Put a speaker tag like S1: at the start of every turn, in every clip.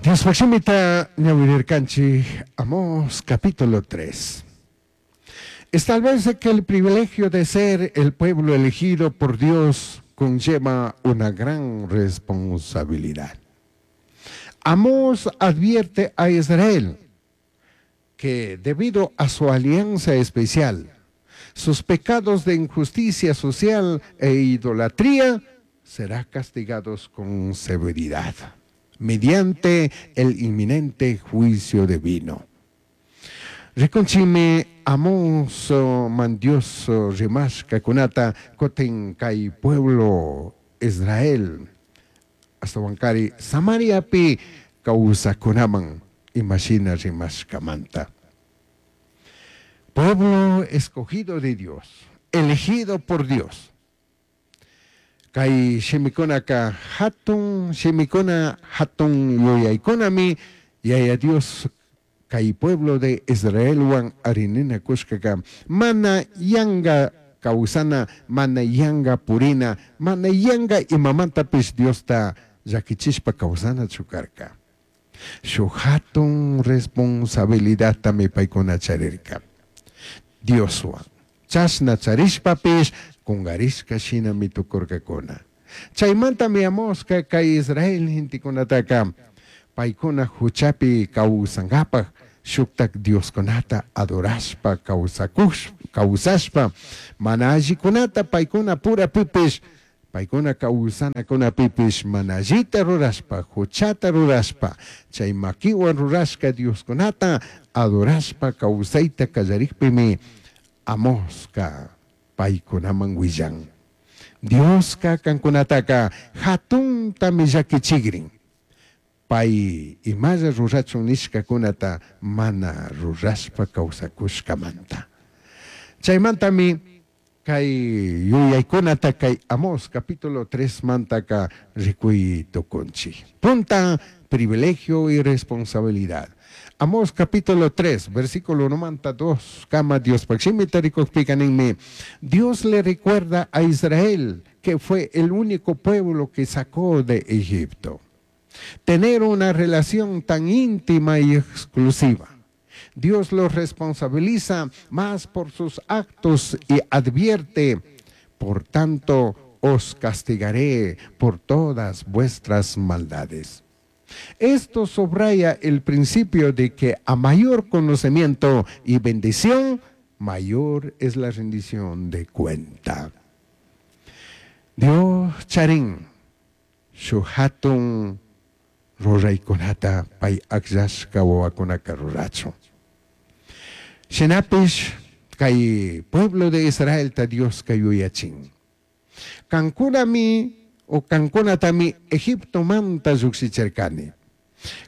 S1: Diospaj shimita ñawirirkanchik Amós capítulo 3. Establece que el privilegio de ser el pueblo elegido por Dios conlleva una gran responsabilidad. Amós advierte a Israel que debido a su alianza especial, sus pecados de injusticia social e idolatría serán castigados con severidad mediante el inminente juicio divino. Rikunchimi Amós man Dios rimashkakunata kutin kay pueblo Israel ashtawankari Samariapi kawsakunaman imashina rimashkamanta. Pueblo escogido de Dios, elegido por Dios. Kay shimikunaka hatun shimikuna hatun yuyaykunami Yaya Dios kay pueblo de Israelwan arininakushkaka mana yanga kawsana, mana yanga purina, mana yanga imamantapish Diosta llakichishpa kawsanachu karka. Shuk hatun responsabilidadtami paykuna charirka. Dioswan chashna charishpapish kungarishka shinami tukurkakuna. Chaymantami Amoska kay Israel gentekunataka paykuna huchapi kawsankapaj shuktak Dioskunata adorashpa kawsashpa mana allikunata paykuna purapipish paykuna kawsanakunapipish mana allita rurashpa huchata rurashpa chay makiwan rurashka Dioskunata adorashpa kawsayta kallarikpimi Amoska paykunaman willan. Dioska kankunataka hatuntami llakichikrin. Pay imalla rurachun nishkakunata mana rurashpa kawsakushkamanta. Chaymantami kay yuyaykunata kay Amós capítulo 3 mantaka rikuy tukunchik. Punta, privilegio y responsabilidad. Amós capítulo 3, versículo 92, kama Dios shimita rikukpika ninmi. Dios le recuerda a Israel que fue el único pueblo que sacó de Egipto. Tener una relación tan íntima y exclusiva. Dios los responsabiliza más por sus actos y advierte, por tanto os castigaré por todas vuestras maldades. Esto subraya el principio de que a mayor conocimiento y bendición, mayor es la rendición de cuenta. Dios charin, shuk hatun ruraykunata pay akllashka wawakunaka rurachun. Shinapish kay pueblo de Israelta Dioska yuyachin. Kankunami o kankunatami Egiptomanta llukshichirkani.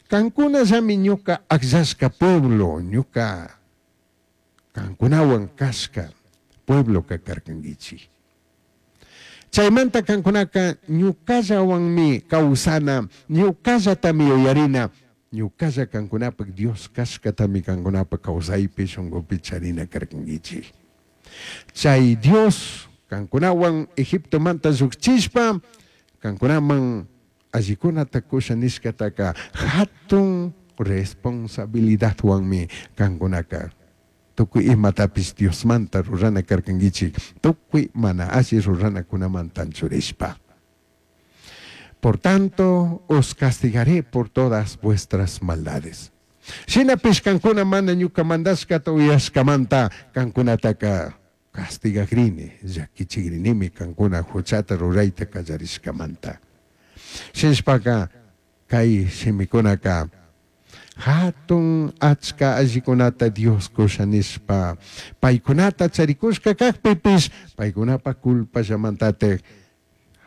S1: Kankunallami ñuka akllashka pueblo, ñuka kankunawan kashka pueblo karkankichik. Chaymanta kankunaka ñukallawanmi kawsana, ñukallatami yuyarina, ñukalla kankunapak Dios kashkatami kankunapak kawsaypi shunkupi charina karkankichik. Chay Dios kankunawan Egiptomanta llukchishpa kankunaman allikunata kusha nishkataka hatun responsabilidadwanmi kankunaka tukuy imatapish Diosmanta rurana karkankichik, tukuy mana alli ruranakunamanta anchurishpa. Por tanto, os castigaré por todas vuestras maldades. Shinapish kankuna mana ñuka mandashkata uyashkamanta kankunataka castigagrini, llakichigrinimi kankuna huchata rurayta kallarishkamanta. Shinashpaka kay shimikunaka hatun achka allikunata Dios kusha nishpa paykunata charikushka kakpipish paykunapa culpallamantatik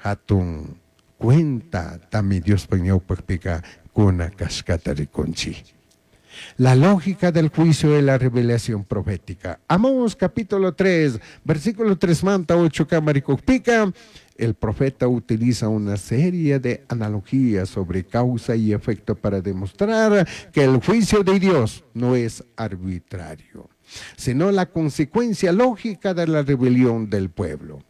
S1: hatun cuenta tami Diospak ñawpakpika kuna kashkata rikunchik. La lógica del juicio de la revelación profética. Amós capítulo 3, versículo 3 manta 8 kama rikukpika. El profeta utiliza una serie de analogías sobre causa y efecto para demostrar que el juicio de Dios no es arbitrario, sino la consecuencia lógica de la rebelión del pueblo.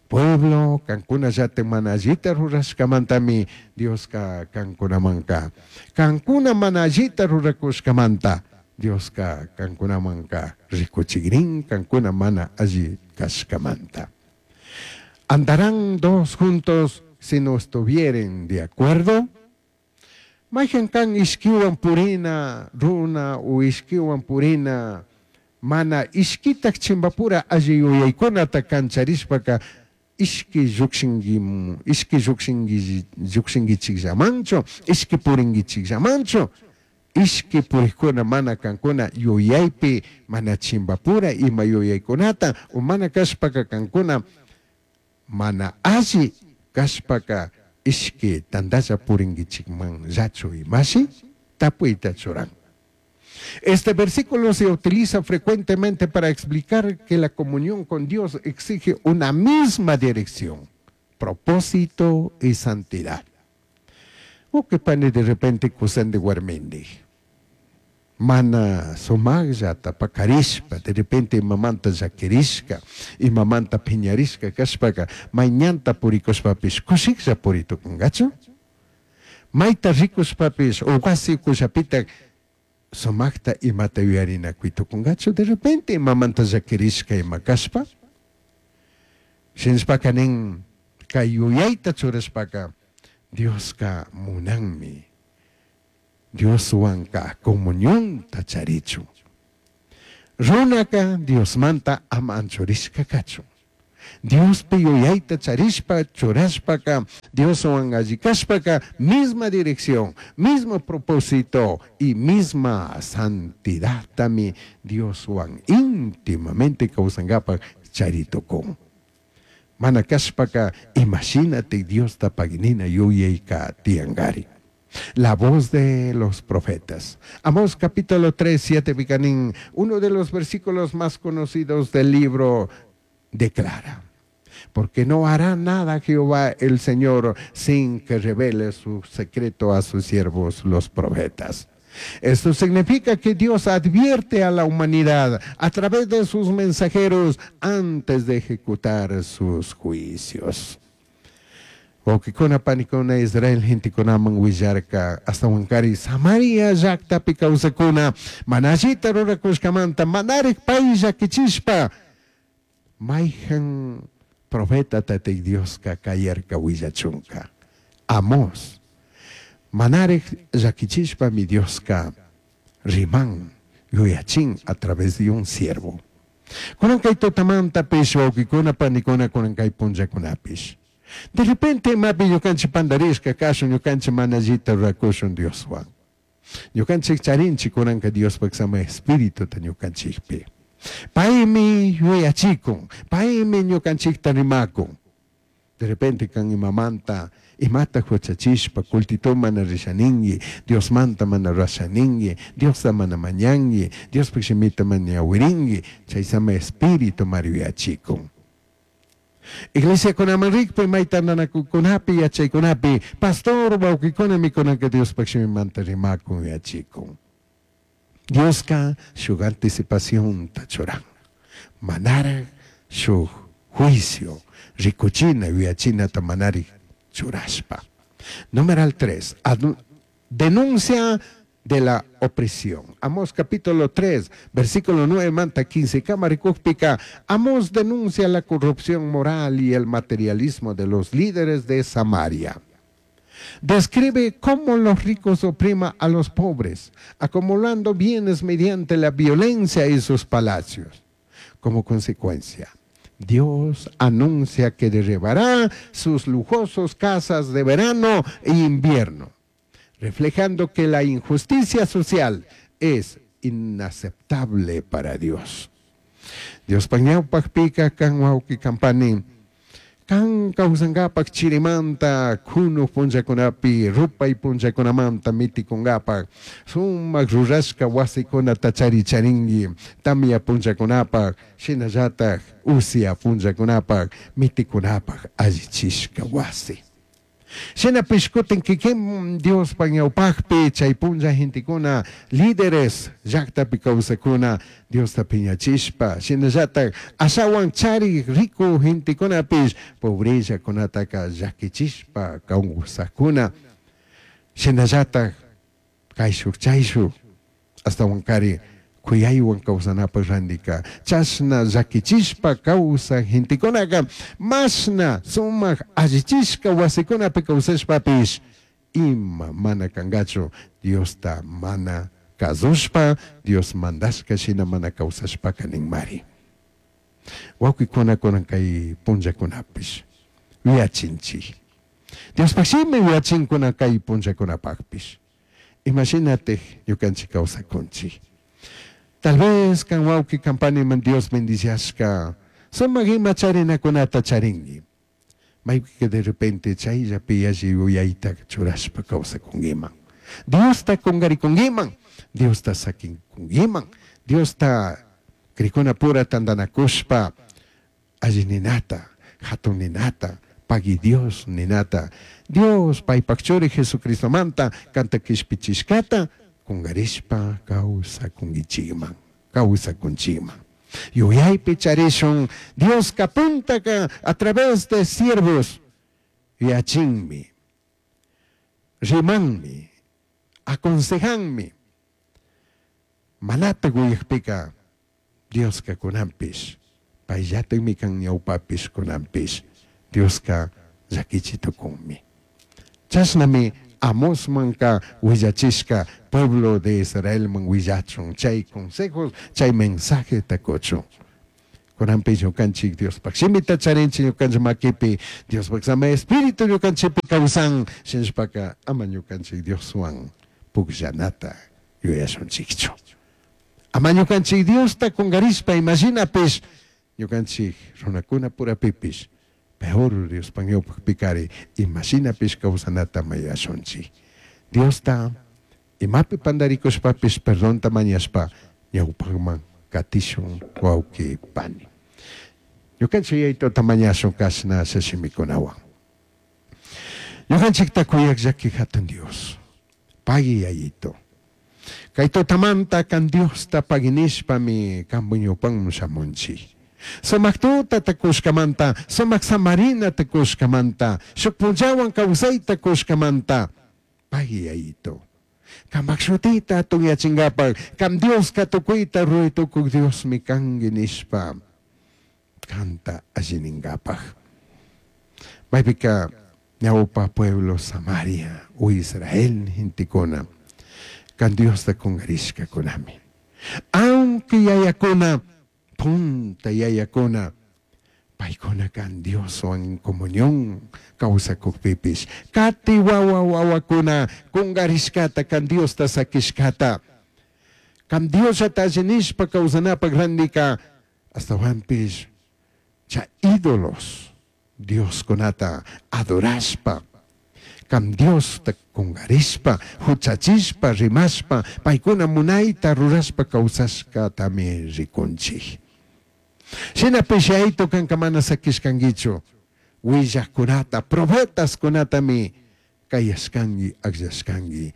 S1: Pueblo, kankunallatik mana allita rurashkamantami Dioska kankunamanka, kankuna mana allita rurakushkamanta Dioska kankunamanka rikuchigrin kankuna mana alli kashkamanta. ¿Andarán dos juntos si no estuvieren de acuerdo? Mayhan kan ishkiwan purina runa o ishkiwan purina mana ishkitak chimbapura alli yuyaykunata kancharishpaka ishki llukshinki, ishki llukshinki, llukshinkichikllamanchu, ishki purinkichikllamanchu, ishki purikkuna mana kankuna yuyaypi mana chimbapura ima yuyaykunata o mana kashpaka kankuna mana alli kashpaka ishki tantalla purinkichikmanllachu imashi tapuyta churan. Este versículo se utiliza frecuentemente para explicar que la comunión con Dios exige una misma dirección, propósito y santidad. O que pani de repente kusandi warmindi. Mana sumaqllata pakarishpa, de repente imamanta llakirishka, imamanta phiñarishka kashpaka, mayñanta purikushpapish kushiklla puritukunkachu? Mayta rikushpapish o wasi ukullapitak sumaqta imata yuyarinakuy de repente imamanta llakirishka ima kashpa? Shinashpaka nin kay yuyayta churashpaka Dioska munanmi Dioswanka comunionta charichun. Runaka Diosmanta ama anchurishka kachun. Diospi yuyayta charishpa churashpaka Dioswan alli kashpaka misma dirección, mismo propósito y misma santidadtami Dioswan íntimamente kawsankapak charitukun. Mana kashpaka imashinatik Diosta paginina yuyayka tiyankari. La voz de los profetas. Amós capítulo 3, 7, Vicanín, uno de los versículos más conocidos del libro, declara: porque no hará nada Jehová el Señor sin que revele su secreto a sus siervos los profetas. Esto significa que Dios advierte a la humanidad a través de sus mensajeros antes de ejecutar sus juicios. Wawkikuna panikuna Israel gentekunaman willarka ashtawankari Samaria llaktapi kawsakuna mana allita rurakushkamanta manarik pay llakichishpa mayhan profeta tatik Dioska kayarka willachunka. Amós manarik llakichishpami Dioska riman yuyachin a través de un siervo. Kunan kay tutamantapish wawkikuna panikuna kunan kay punllakunapish. De repente imapi ñukanchik pandarishka kashun ñukanchik mana allita rurakushun Dioswan. Ñukanchik charinchik kunanka Diospak sama espirituta ñukanchikpi. Paymi yuyachikun, paymi ñukanchikta rimakun. De repente kan imamanta imata huchachishpa cultito mana rishaningi, Diosmanta mana rashaningi, Diosta mana mañangi, Diospak shimita mana ñawiringi, chay sama espíritu mari yuyachikun. Iglesia kunaman rikpi mayta nanakukunapi yachaykunapi pastor wawkikuna mikunaka Diospak shimimanta rimakun yuyachikun. Dioska shuk anticipacionta churan. Manarak shuk juicio rikuchina yuyachinata manarik churashpa. Numeral 3. Denuncia de la opresión. Amós capítulo 3, versículo 9, manta 15, Camaricúpica. Amós denuncia la corrupción moral y el materialismo de los líderes de Samaria. Describe cómo los ricos opriman a los pobres, acumulando bienes mediante la violencia y sus palacios. Como consecuencia, Dios anuncia que derribará sus lujosos casas de verano e invierno, reflejando que la injusticia social es inaceptable para Dios. Dios pañawpaqpika kan wawqi kampani, kan kawsankapak chirimanta kunuk punllakunapi rupay punllakunamanta mitikunkapak sumak rurashka wasikunata charicharinki tamya punllakunapak shinallatak usya punllakunapak mitikunapak allichishka wasi. Shinapish cutin kikin Diospaj ñawpajpi chay punlla gentecuna líderes llajtapi causacuna Diosta piñachishpa shinallataj ashawan charij rico gentecunapish pobrellacunataca llaquichishpa causajcuna shinallataj caishuj chaishuj ashtahuancari cuyaihuan causanapaj randika chashna llaquichishpa causaj gentecunaca mashna sumaj allichishca wasicunapi causashpapish ima mana cangachu Diosta mana kazushpa Dios mandashka shina mana causashpaca ninmari. Wawqikuna kunan kay punllakunapish yuyachinchik. Diospaj shimi yuyachinkuna kay punllakunapajpish. Imashinatik ñukanchik kawsakunchik. Tal vez kan wawqi kan paniman Dios bendiciashka sumak ima charinakunata charinki. Maypika de repente chayllapi yalli yuyayta churashpa kawsakunkiman. Diosta kungarikunkiman, Diosta sakinkunkiman, Diosta crikuna pura tantanakushpa alli ninata, hatun ninata, pagui Dios ninata, Dios paypak churi Jesucristomanta kanta kishpichishkata kungarishpa kawsakunkichikman, kawsakunchikman. Yuyaypi charishun Dioska puntaka a través de siervos yuyachinmi, rimanmi, aconsejanmi. Manatak uyakpika Dioska kunanpish payllatakmi kan ñawpapish kunanpish Dioska llakichi tukunmi. Chashnami Amosmanka willachishka pueblo de Israelman willachun chay consejos chay mensajeta kuchun. Kunanpish ñukanchik Diospaj shimita charinchik ñukanchik makipi Diospaj sama espíritu ñukanchikpi kawsan shinashpaka ama ñukanchik Dioswan pukllanata yuyashunchikchu. Ama ñukanchik Diosta kungarishpa imashinapish ñukanchik runakuna purapipish peor Diospaj ñawpakpikari imashinapish kawsanata mayashunchik. Diosta imapi pandarikushpapish perdonta mañashpa ñawpakman katishun wawqi pani. Ñukanchik yaytuta mañashun kashna shimikunawan. Ñukanchikta kuyak llaki hatun Dios. Pagui yayito. Kay tutamanta kan Diosta paginishpami kanpu ñawpanman shamunchik. Sumak tutata kushkamanta, sumak samarinata kushkamanta, shuk punllawan kawsayta kushkamanta, pagui yayito. Kampak shutita hatunyachinkapaj, kam Dioska tukuyta ruray tukuk Diosmi kanki nishpa kanta allininkapaj. Maypika ñawpa pueblo Samaria o Israel gentekuna kan Diosta kungarishkakunami. Aunque yayakuna, punta yayakuna, paykuna kan Dioswan comunión kawsakukpipish, kati wawa wawakuna kungarishkata kan Diosta sakishkata, kan Diosllata allinishpa kawsanapak randika ashtawanpish chay ídolos Dioskunata adorashpa, kam Diosta kungarishpa, huchachishpa, rimashpa, paykuna munayta rurashpa kawsashkatami rikunchik. Shinapish yayito kanka mana sakishkankichu, willakkunata, profetaskunatami kayashkanki, akllashkanki.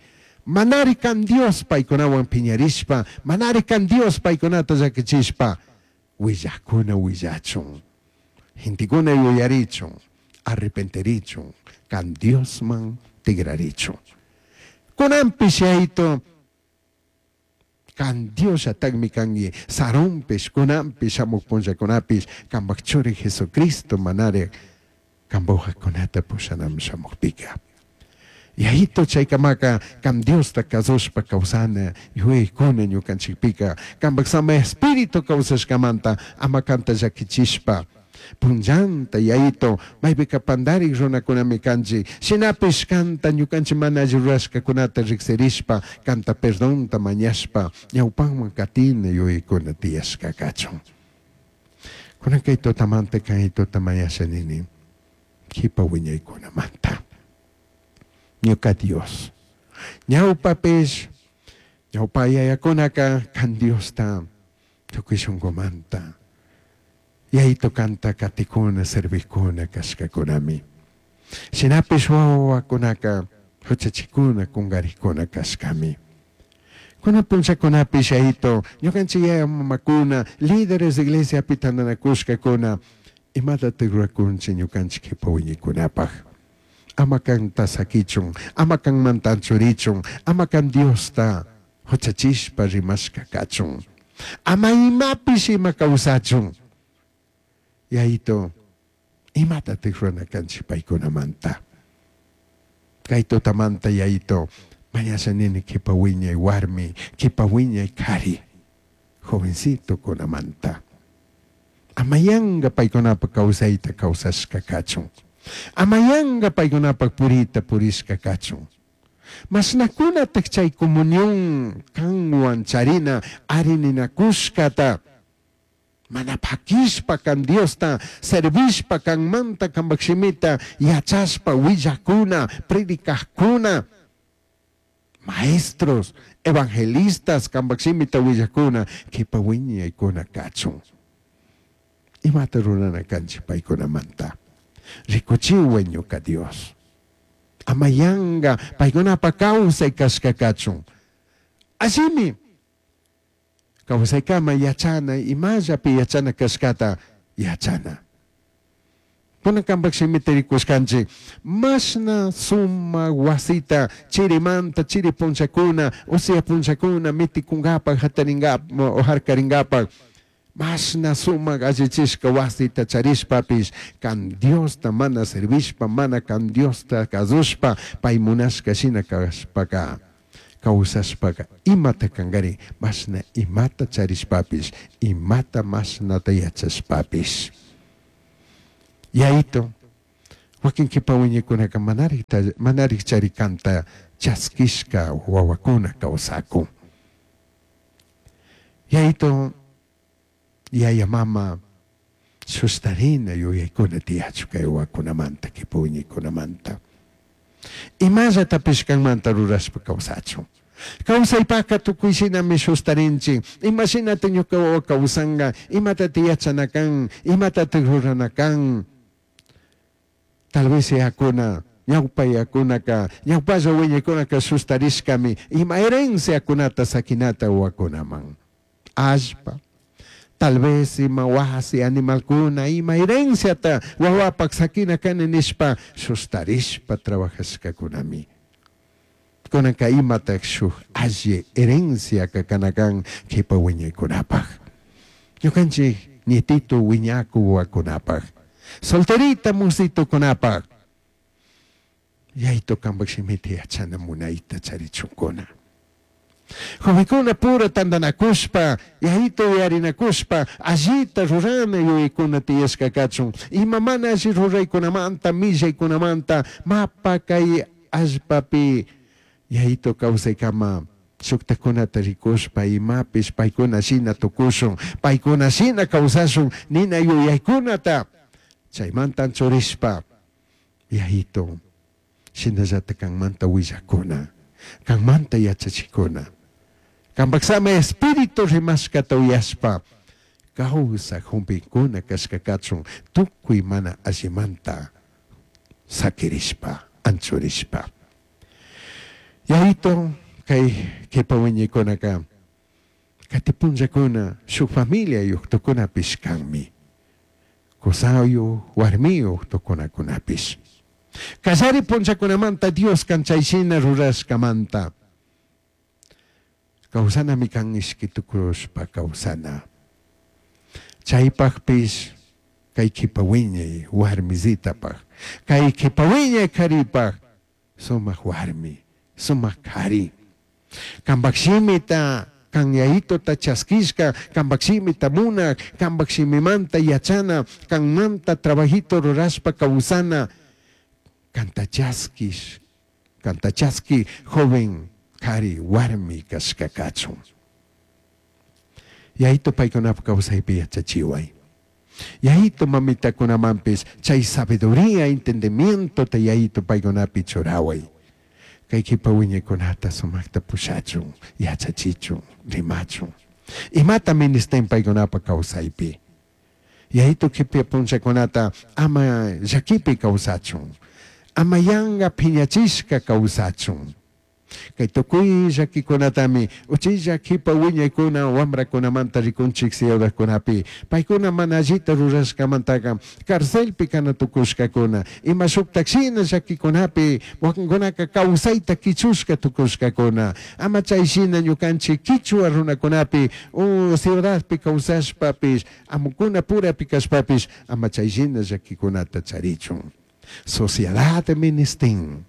S1: Manari kan Dios paykunawan piñarishpa, manari kan Dios paykunata llakichishpa, willakuna willachun. Gentekuna yuyarichun, arrepentirichun, kan Diosman tigrarichun. Kunanpish yayito kan Diosllatakmi kanki sarunpish kunanpish shamuq punllakunapish kampak churi Jesucristo manari kambujakunata pushanaman shamukpika. Yayito chaykamaka kam Diosta kasushpa kawsana yuyaykuna ñukanchikpika kampak sama espíritu kawsashkamanta ama kanta llakichishpa punllanta yayito maypika pandarik runakunami kanchik shinapish kanta ñukanchik mana alli rurashkakunata riksirishpa kanta perdonta mañashpa ñawpanman katina yuyaykuna tiyashka kachun. Kunan kay tutamanta kay tuta mañasha nini kipa wiñaykunamanta. Ñuka Dios. Ñawpapish ñawpa yayakunaka kan Diosta tukuy shunkumanta yayito kanta katikuna servikuna kashkakunami. Shinapish huahuacunaca juchachicuna, cungarijcuna cashcami. Cunan punllacunapish Yaito, ñucanchij yaya mamacuna, líderes iglesiapi tandanacushcacuna, imatataj ruracunchij ñucanchij q'uipa huiñicunapaj? Ama canta saquichun, ama canmanta anchurichun, ama can Diosta juchachishpa rimashca cachun. Ama imapish ima causachun. Yaito, imatataj rurana canchij paicunamanta? Cai tutamanta Yaito, mañasha nini q'uipa huiñai huarmi, q'uipa huiñai c'ari, jovencitocunamanta. Ama yanga paicunapaj causaita causashca cachun. Ama yanga paicunapaj purita purishca cachun. Mashnacunataj chai comunión canhuan charina ari ninacushcata mana paquishpa can Diosta servishpa canmanta cambaj shimita yachashpa huillajcuna, predicajcuna, maestros, evangelistas cambaj shimita huillajcuna q'uipa huiñaicuna cachun. Imata rurana canchij paicunamanta? Ricuchihuai ñuca Dios. Ama yanga paicunapaj causai cashca cachun. Allimi causaicama yachana, imallapi yachana cashcata yachana. Cunan cambaj shimita ricushcanchij, mashna sumaj huasita chirimanta chiri punllacuna, usia punllacuna miticungapaj, jataringapaj, jarcaringapaj, mashna sumaj allichishca huasita charishpapish, can Diosta mana servishpa, mana can Diosta cazushpa, pai munashca shina cashpaca, causashpaca, imata cangari, mashna imata charishpapish, imata mashnata yachashpapish. Yaito, huaquin q'uipa huiñicunaca manarij chari canta chasquishca huahuacuna causacun. Yaito, yaya mama sustarina yuyaicuna tiyachu cai huahuacunamanta, q'uipa huiñicunamanta. Imallatapish canmanta rurashpa causachun. Causaipaca tucui shinami sustarinchij. Ima shinata ñuca huahua causanga? Imatata yachana can? Imatata rurana can? Tal vez yacuna, ñaupa yacunaca, ñaupalla huiñicunaca sustarishcami ima herenciacunata saquinata huahuacunaman. Allpa, tal vez ima huasi, animalcuna, ima herenciata huahuapaj saquina cani nishpa sustarishpa trabajashcacunami. Cunanca imataj shuj alli herenciaca cana can q'uipa huiñaicunapaj? Ñucanchij nietito huiñacu huahuacunapaj, solterita mositocunapaj, Yaito cambaj shimita yachana munaita charichuncuna. Jovencuna pura tandanacushpa, Yaito yuyarinacushpa, allita rurana yuyaicuna tiyashca cachun. Ima mana alli ruraicunamanta, millaicunamanta, mapa cai allpapi Yaito causaicama shujtajcunata ricushpa imapish paicuna shina tucushun, paicuna shina causashun nina yuyaicunata chaimanta anchurishpa Yaito, shinallata canmanta huillajcuna, canmanta yachachijcuna, cambaj Sama Espíritu rimashcata uyashpa causaj jumbincuna cashca cachun tucui mana allimanta saquirishpa, anchurishpa. Yaito, cai q'uipa huiñicunaca cati punllacuna shuj familiayuj tucunapish canmi. Cusayuj, huarmiyuj tucunacunapish. Callari punllacunamanta Dios can chai shina rurashcamanta causanami can ishqui tucushpa causana. Chaipajpish cai q'uipa huiñai huarmisitapaj, cai q'uipa huiñai c'aripaj sumaj huarmi, sumaj c'ari. Cambaj shimita can Yaitota chasquishca, cambaj shimita munaj, cambaj shimimanta yachana, canmanta trabajito rurashpa causana, canta chasquish, canta chasqui joven c'ari huarmi cashca cachun. Yaito paicunapaj causaipi yachachihuai. Yaito mamitacunamanpish chai sabiduría, entendimientota Yaito paicunapi churahuai. Cai q'uipa huiñaicunata sumajta pushachun, yachachichun, rimachun. Imata ministin paicunapaj causaipi? Yaito q'uipa punllacunata ama llaquipi causachun. Ama yanga phiñachishka kawsachun. Kay tukuy llakikunatami uchilla kipa wiñaykuna wamrakunamanta rikunchik ciudadkunapi. Paykuna mana allita rurashkamantaqa carcelpi kana tukushkakuna. Ima shuktak shina llakikunapi wakinkunaka kawsayta kichushka tukushkakuna. Ama chay shina ñukanchik kichwa runakunapi o ciudadpi kawsashpapish amukuna purapi kashpapish ama chay shina llakikunata charichun. Sociedad ministin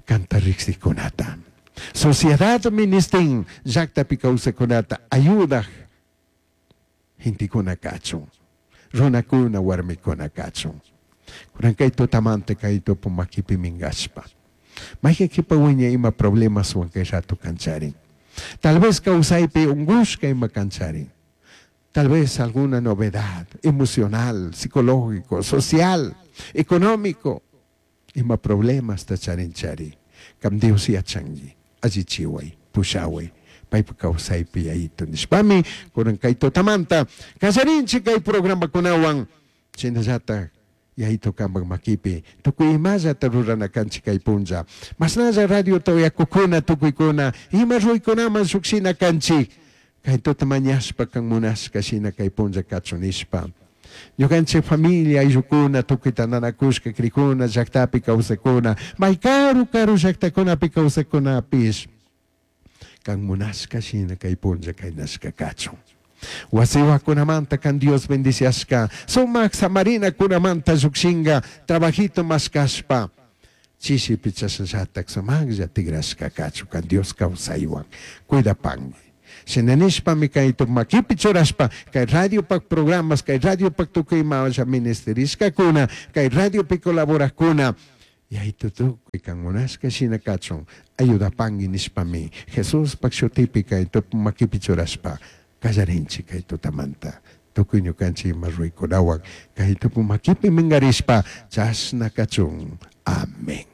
S1: kanta riksikunata. Sociedad ministin llaktapi kawsakunata ayudak gentekuna kachun. Runakuna warmikuna kachun. Kunan kay tutamanta kay tupu makipi minkashpa. Mayqa kipa wiñay ima problemaswan kay rato kancharin. Tal vez kawsaypi unkushka ima kancharin. Tal vez alguna novedad emocional, psicológico, social, económico. Ima problemasta charinchari. Kam Dios yachanki. Allichiway, pushaway. Paypa kawsaypi yayito nishpami kunan kay tutamanta kallarinchik kay programakunawan shinallatak yayito kampak makipi tukuy imallata rurana kanchik kay punlla mashnalla radiota uyakukuna tukuykuna ima ruykunaman shukshina kanchik kay tuta mañashpa kan munashka shina kay punlla kachun nishpa ñukanchik familia ayllukuna tukuy tantanakushka krikuna llaktapi kawsakuna may karu karu llaktakunapi kawsakunapish kan munashka shina kay punlla kaynashka kachun. Wasiwakunamanta kan Dios bendiciashka sumak samarinakunamanta llukshinka trabajito mashkashpa chishipi chashnallatak sumaklla tigrashka kachun kan Dios kawsaywan cuidapanki. Shina nishpami kay makipi churashpa kay radiopak programas kay radiopak tukuy imalla ministerishkakuna kay radiopi colaborakuna yaytu tukuy kan munashka shina kachun ayudapanki nishpami Jesuspak shutipi kay makipi churashpa kallarinchik kay tutamanta tukuy ñukanchik ima ruykunawan kay tupu makipi minkarishpa chashna kachun. Amén.